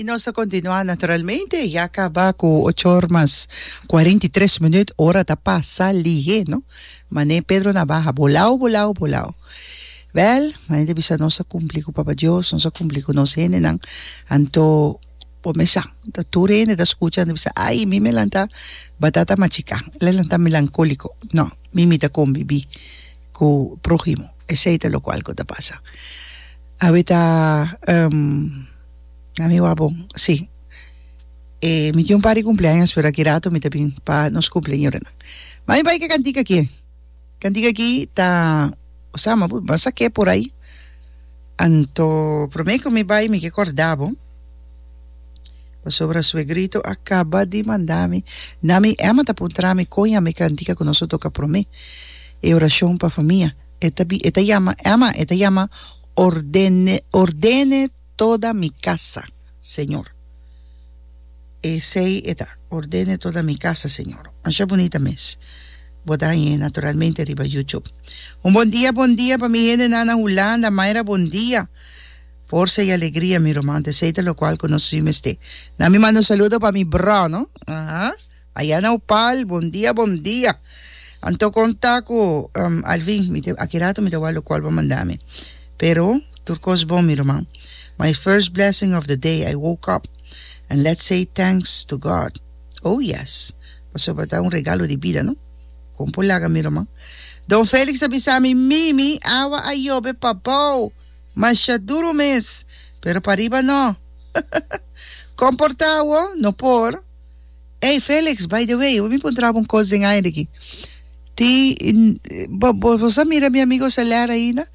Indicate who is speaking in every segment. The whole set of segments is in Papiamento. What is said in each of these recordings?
Speaker 1: Y nos ta continua naturalmente, ya caba cu ocho or mas 43 minuut, ora ta pasa lihe, no? Mane Pedro Navaja, bolao, bolao, bolao. Wel, mane ta bisa nos a cumpli cu Papa Dios, nos a cumpli cu nos hendenan, anto bo mes sa, ta tur hende ta scucha, ta bisa, ay, mi me lanta batata machica, el a lanta melancolico. No, mi mi ta convivi cu prohimo, esey ta locual cu ta pasa. Awe ta, um, ami wak bon, si. E, mi tin un par di cumpleaños, pero aki rato mi ta bin pa nos cumpleañeronan. Ma mi bai ke cantica aki. Cantica aki ta, osea, mi a saké por ai. Anto, prome cu mi bai mi ke corda bo, pasobra suegrito a caba di manda mi, na mi Emma ta puntra mi con yama e cantica cu nos a toca prome, e oracion pa famia. E ta bi, e ta yama, Emma, e ta yama ordene, ordene toda mi casa, Señor. Esey e ta, ordene toda mi casa, Señor. Masha bunita mes. Bo ta hañ'é naturalmente riba YouTube. Un bon dia, bon dia pa mi hendenan na Hulanda. Mayra, bon dia. Forsa y alegria, mi ruman. Ta esey ta locual cu nos si mester. Na mi manda un saludo pa mi bro, no? Aha. Aya na Opal, bon dia, bon dia. Anto konta ku Alvin, mi te, aki rato mi ta wak lokual bo manda mi. Pero, tur kos bon mi ruman. My first blessing of the day, I woke up and let's say thanks to God. Oh yes, pasobra ta un regalo di bida, no? Kon por laga mi ruman? Don Felix a bisa mi, Mimi, awa a yobe pabou, masha duru mes, pero pariba no. Kon por ta awo? No por. Ey Felix, by the way, mi puntra bo un cos den aire aki. Ti, bo, bo, bo sa mira mi amigo Celer ainda?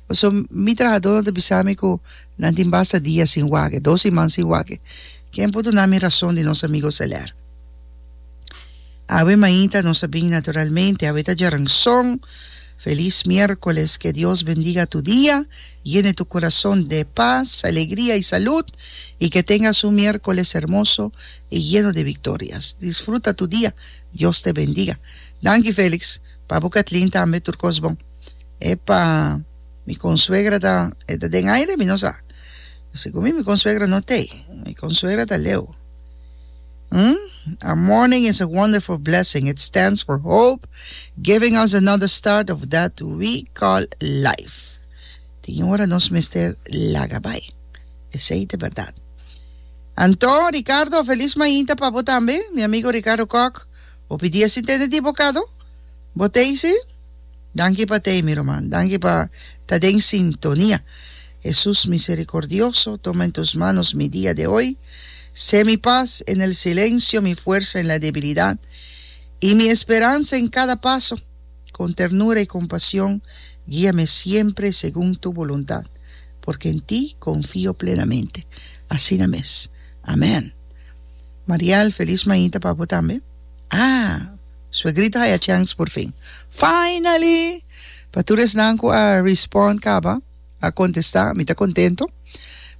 Speaker 1: Paso mi trahadornan ta bisa mi cu nan tin basta dia sin wak, dos siman sin wak. Ken por duna mi rason di nos amigo Celer? Awe mainta nos a bin naturalmente, awe ta djaranson. Feliz miércoles, que Dios bendiga tu dia, llene tu corazón de paz, alegría y salud, y que tengas un miércoles hermoso y lleno de victorias. Disfruta tu dia, Dios te bendiga. Danki Felix, pa bo Kathleen tambe tur cos bon. Epa, mi consuegra ta, e ta den aire? Mi no sa. Segun mi, mi consuegra no t'ey. Mi consuegra ta leu. Hm? Our morning is a wonderful blessing. It stands for hope, giving us another start of that we call life. Tin ora nos mester laga bai. Esey ta berdad. Anto, Ricardo, feliz mainta pa bo tambe, mi amigo Ricardo Kok. Hopi dia sin tende di bo kado. Bo tei si? Danki pa tei, mi ruman. Danki pa ta den sintonia. Jesús misericordioso, toma en tus manos mi dia de hoy. Sé mi paz en el silencio, mi fuerza en la debilidad y mi esperanza en cada paso. Con ternura y compasión, guíame siempre según tu voluntad, porque en ti confío plenamente. Asina mes. Amén. Marial, feliz mainta pa bo tambe. Ah, suegrito haya chance por fin. Finally! Pa tur esnan cu a respond caba, a contesta, mi ta contento.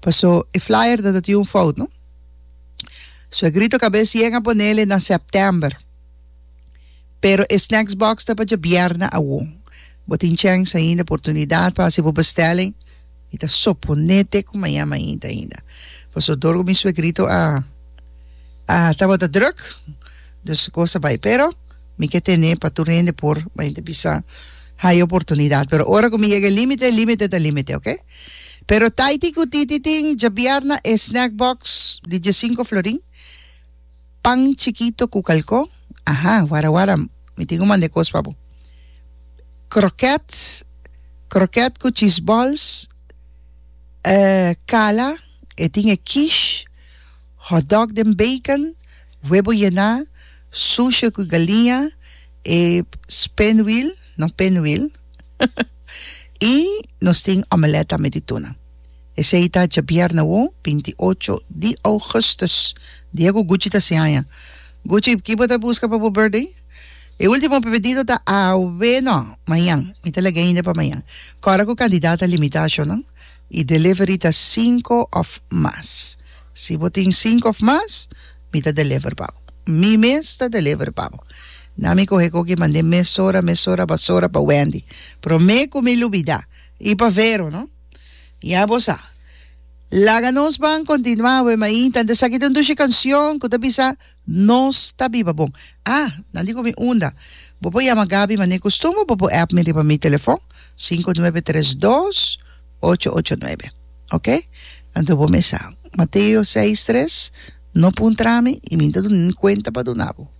Speaker 1: Paso e flyer ta tin un fout, no? Suegrito cabes yen a ponele na september. Pero e snacks box ta pa djabièrnè awo. Bo tin chèns ainda, oportunidat pa hasi bo bestelling. Mi ta soponé te ku mañan mainta ainda. Pasobra dor ku mi suegrito a a tabata drùk, dus kos a bai. Pero mi ke tene pa tur hende por mainta bisa haya oportunidat. Pero ora ku mi yega e límite, límite ta límite, oke? Pero Taiti ku Titi tin djabièrnè e snack box di diesinko florin. Pan chikito ku kalkó, aha, wara wara, mi tin ku manda e kos pa bo. Kroket, kroket ku cheese balls, kala, e tin e quiche, hotdog den bacon, webo yená, sushi ku galiña, e spinwiel, no pinwiel, i nos tin omelet tambe di tuna. Esei ta djabièrnè awo, 28 di ougùstùs, dia ku Gucci ta hasi aña. Gucci, ki bo ta buska pa bo birthday? E último pedido ta awe, no, mañan. Mi ta laga ainda pa mañan. Kòrda ku kantidat ta limitá, shownan, i delivery ta sinku òf mas. Si bo tin sinku òf mas, mi ta deliver pa bo. Mi mes ta deliver pa bo. Na mi kohe koki mand'é mesora, mesora, basora pa Wendy. Promé ku mi lubidá. I pa Vero, no? Ya bo sa. Laga nos ban kontinuá awe mainta. Anto esaki ta un dushi kanshon ku ta bisa Nos ta biba bon. Ah, nan di ku mi unda. Bo por yama Gaby manera kustumber, bo por app mi riba mi telefon, 5932 889. Ok? Anto bo mesa. Mateo 6 tres, No puntra mi i mi no ta duna ni kuenta pa duna bo.